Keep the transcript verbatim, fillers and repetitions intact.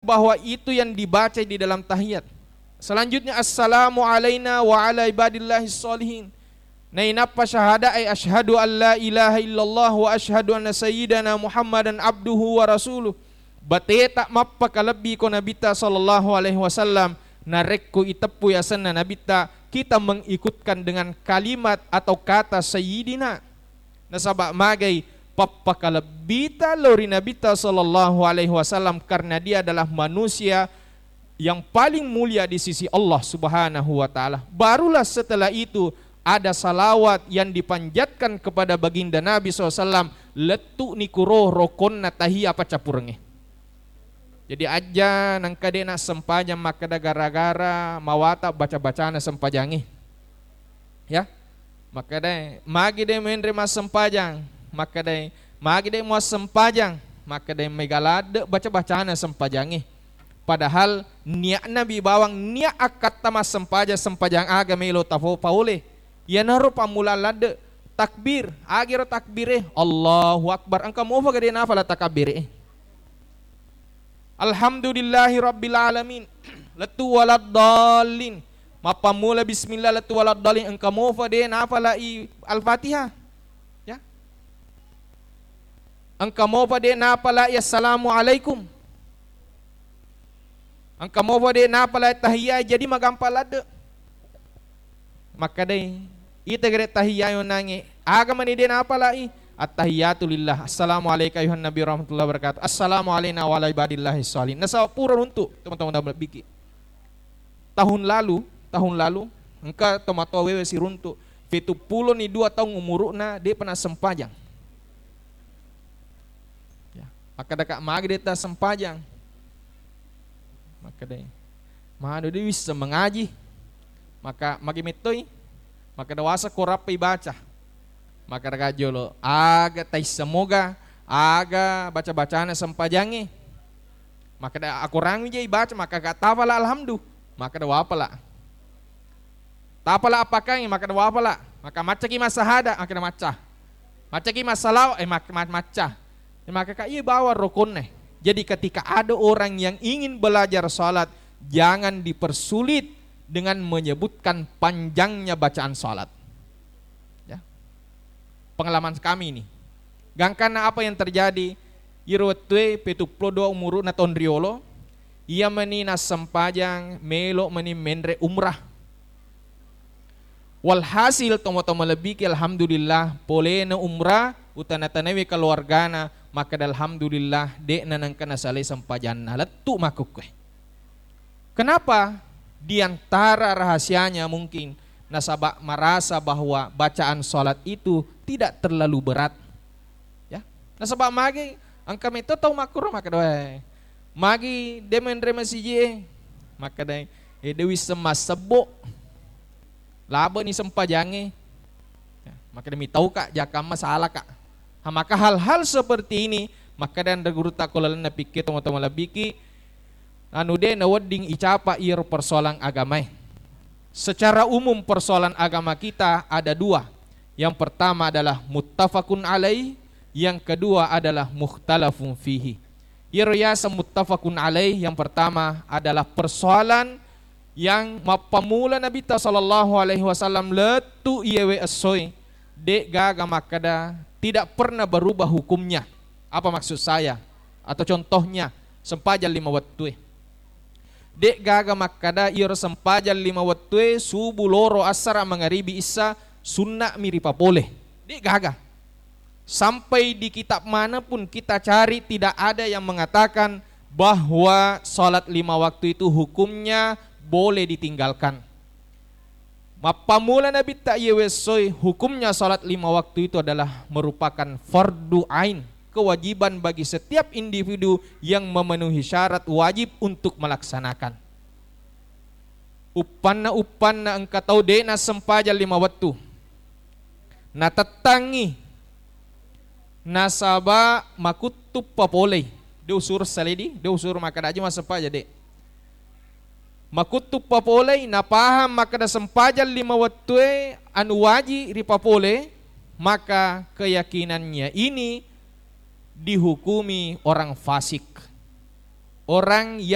bahwa itu yang dibaca di dalam tahiyat. Selanjutnya, "Assalamu alaina wa ala ibadillahis sholihin." Nainappa syahada, ay, "Asyhadu an la ilaha illallah wa asyhadu anna sayyidana Muhammadan abduhu wa rasuluh." Bateta mappakalebbi ko Nabitta sallallahu alaihi wasallam, narekko iteppu yasenna Nabitta, kita mengikutkan dengan kalimat atau kata sayyidina. Nasaba magai pappakalebbita lao ri Nabitta sallallahu alaihi wasallam, karena dia adalah manusia yang paling mulia di sisi Allah Subhanahu wa Ta'ala. Barulah setelah itu ada salawat yang dipanjatkan kepada baginda Nabi sallallahu alaihi wasallam, lettu nikuro rokonna tahiyya paccapurengnge. Jadi, ajja nengka de' nassempajang makkeda gara-gara mawata baca-bacana sempajangnge. Ya. Makkedai, "Magi de' menre massempajang?" Makkedai, "Magi de' muassempajang?" Makkedai, "Mega ladde' baca-bacana sempajangnge." Padahal niatna bi bawang niat akkatta massempajang, sempajang aga melo tafo-, paole. Iyanaro pammula ladde', takbir, agiro takbire, Allahu Akbar. Engka mofa gede nafala takabbire. Alhamdulillahi rabbil alamin. Lettu waladdallin. Mappammula bismillah lettu waladdallin. Engka mofa de' nafalai Al-Fatihah. Ya. Engka mofa de' nafalai assalamu alaikum. Engka mofa de' nafalai tahiyya, jadi magampa ladde'. Makkedai, ita gere tahiyya yonangnge, aga mani de' nafalai? At-tahiyatu lillah. Assalamu alaika ayuhan nabi warahmatullahi wabarakatuh. Assalamu alaina wa ala ibadillahi sholihin. Nasaba pura runtu, teman-teman, dalam biki. Tahun lalu, tahun lalu, engka tomatoa wewe siruntu, fetuppulo ni dua taung umuru'na, de' pernah sempajang. Ya, makkeda ka, "Magi de' tassempajang?" Makkeda, "Manu de' wisseng mengaji." Maka, "Magi mettoi?" Makkeda, "Wasa ko rappai baca." Makkeda ka jolo, "Aga taissemoga aga baca-bacana sempajangnge?" Makkeda, "Akorang wi je ibaca." Makkeda, "Tafala alhamdu." Makkeda, "Wapala." "Tapala apakkangngi?" Makkeda, "Wapala." Maka, "Maccaki massahada?" Makkeda, "Macca." "Maccaki massalawa?" Eh, mak-, ma-, macca. Eh, maka ka iya bawang rokonne. Jadi ketika ada orang yang ingin belajar salat, jangan dipersulit dengan menyebutkan panjangnya bacaan salat. Ya. Pengalaman kami ini. Gangkanna apa yang terjadi? Iro wettue petuppulo dua umuru'na taung riolo, iya mani nassempajang, melo mani menre umrah. Walhasil, tomatoa malebbiki, alhamdulillah, polena umrah, utana-tanawi keluargana, makkeda, "Alhamdulillah, de'na nengka nasalai sempajanna, lettu makkukkue." Kenapa? Di antara rahasianya mungkin nasaba merasa bahwa bacaan salat itu tidak terlalu berat. Ya, nasaba magi engka metto tau makkuro makkeda, "Wae, magi de' menre masiji e?" Makkedai, "Eh, de' wisseng massebbo. Labeni sempajangnge." Ya, makkeda, "Mitauka, jakamma salaka." Ha, maka hal-hal seperti ini, makkeda anre gurutta ko lalenna pikke tomatoa malebbiki, anu, de' nawedding icapa iyaro persoalan agamae. Secara umum persoalan agama kita ada dua. Yang pertama adalah muttafaqun alaih, yang kedua adalah mukhtalafun fihi. Iyaro yaseng muttafaqun alaih, yang pertama adalah persoalan yang mappammula Nabitta sallallahu alaihi wasallam lettu iyewe essoe, de' gaga makkeda tidak pernah berubah hukumnya. Apa maksud saya? Atau contohnya, sempajang lima wettue. De' gaga makkeda iyaro sempajang lima wettue, subuh, loro, assara, mangaribi, issa, sunna'mi ripapole. De' gaga. Sampai di kitab mana pun kita cari, tidak ada yang mengatakan bahwa salat lima waktu itu hukumnya boleh ditinggalkan. Mappammula Nabitta iyewe essoi, hukumnya salat lima waktu itu adalah merupakan fardu ain, kewajiban bagi setiap individu yang memenuhi syarat wajib untuk melaksanakan. Uppanna-uppanna engka tau de' nassempajang lima wettu. Natettangngi. Nasaba makuttuppa polei. De' usuru saledi, de' usuru makkeda aja massempajang, de'. Makuttuppa polei, napahang makkeda sempajang lima wettue anu waji ripapole, maka keyakinannya ini dihukumi orang fasik. Orang